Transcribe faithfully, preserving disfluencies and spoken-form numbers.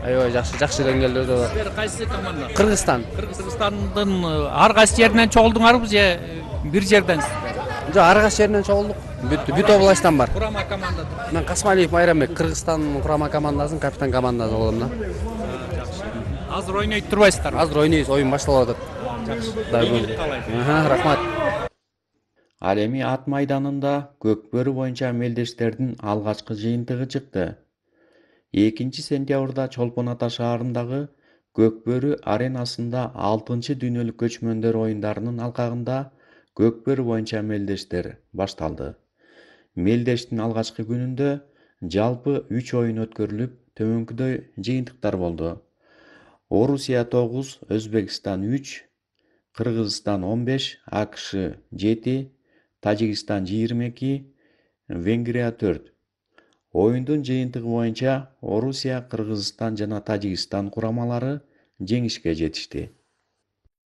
Аябай жакшы, жакшы деңгээлде. Силер кайсы команда? Кыргызстан. Кыргызстандын ар кайсы жеринен чогулдуңарбы же бир жерденсиздер? Жок, ар кайсы жеринен чогулдук. Бүт областтан бар. Курама команда. Мен Касмалиев Майрамбек, Кыргызстан курама командасынын капитан командасы болом да. Жакшы. Азыр ойнойт турбайсыздарбы? Азыр ойнойбуз, оюн башталып атат. Жакшы. Рахмат. Ал эми ат майданында Көкбөрү боюнча мелдештердин алгачкы жыйынтыгы чыкты. экинчи сентябрда Чолпон Ата шаарындагы Көкбөрү аренасында алтынчы дүйнөлүк көчмөндөр оюндарынын алкагында Көкбөрү боюнча мелдештер башталды. Мелдештин алгачкы күнүндө жалпы үч оюн өткөрүлүп, төмөнкүдөй жыйынтыктар болду. Орусия тогуз, Өзбекстан үч, Кыргызстан он беш, АКШ жети, Тажикстан жыйырма эки, Венгрия төрт. Оюндун жыйынтыгы боюнча Орусия, Кыргызстан жана Тажикстан курамалары жеңишке жетишти.